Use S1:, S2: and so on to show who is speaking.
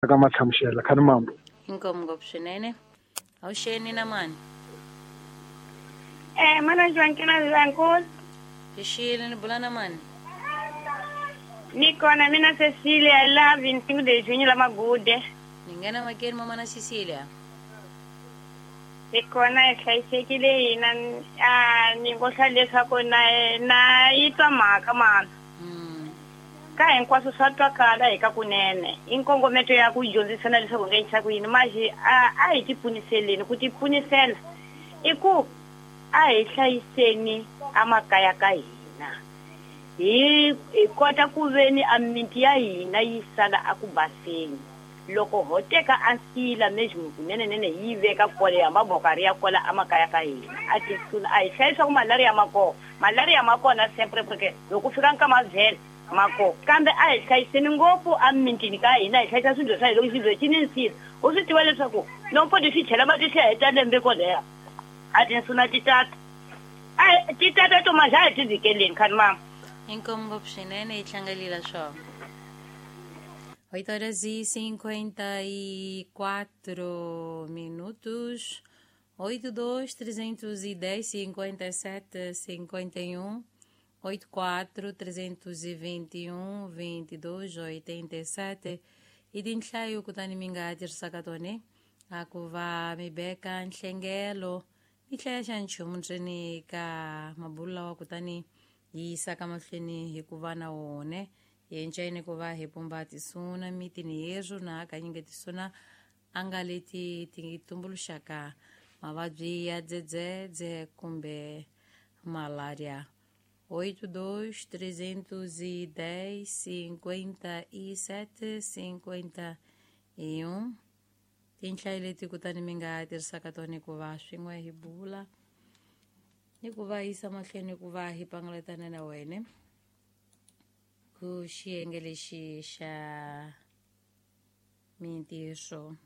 S1: Ka matlhamuxela khani mambo.
S2: Inkomu ngopfu swinene. Awuxeni na mani?
S3: Mana Joaquina Vilankulu.
S2: Xixile ni bula na mani?
S3: Ni kona mina Cecilia la 25 de junho la Magude.
S2: Ni nghena makeni mama na Cecilia.
S3: Ni kona hi hlayisekile hina a ni ngo hla leswaku na yi twa mhaka mana. Ka hinkwaswo swa twakala hi ka kunene. I nkongometo ya ku dyondzisana leswaku nga endlisa ku yini manje a hi tipfuniseleni ku tipfunisela i ku a hi hlayiseni amakaya ka hina. Hi kota ku veni a miti ya hina yi sala a ku baseni. Loko ho teka a nsila mejmu kunene nene yi veka kwale ya mabokari ya kwala amakaya ka hina. A tisuna a hi hlayisa ku malaria ma kona. Malaria ma kona sempre porque loko fika nkama vhele mako kambe a hi hlayiseni ngopfu a mintini ka hina hi hlayisa swilo swa hina loko xilo xi ni nsila u swi tiva leswaku loko ti swi chela mati swi heta lembe koleha a tinsuna ti tata a ti tata to manje a hi ti vhikeleni khani mama.
S2: Inkomu ngopfu swinene yi hlangalila swona. 8h54 minutos. 82 310 57 51 84 321 22 87 i tinhlayo kutani mi nga tirhisaka tona a ku va mi beka nhlengelo mi hlaya xa nchumu ntseni ka mabulu lawa kutani yi yisaka mahlweni hi ku va na wone yenceni ku va hi pumba tisuna mitini yeswo na hakanyingi tisuna a nga leti ti tumbuluxaka mavabyi ya dzedzedze kumbe malaria. 82 310 57 51 tinhlayo leti kutani mi nga tirhisaka tona ku va swin'we hi bula ni ku va yisa mahlweni ku va hi pangalatana na wena ku xiyenge lexi xa mintirho.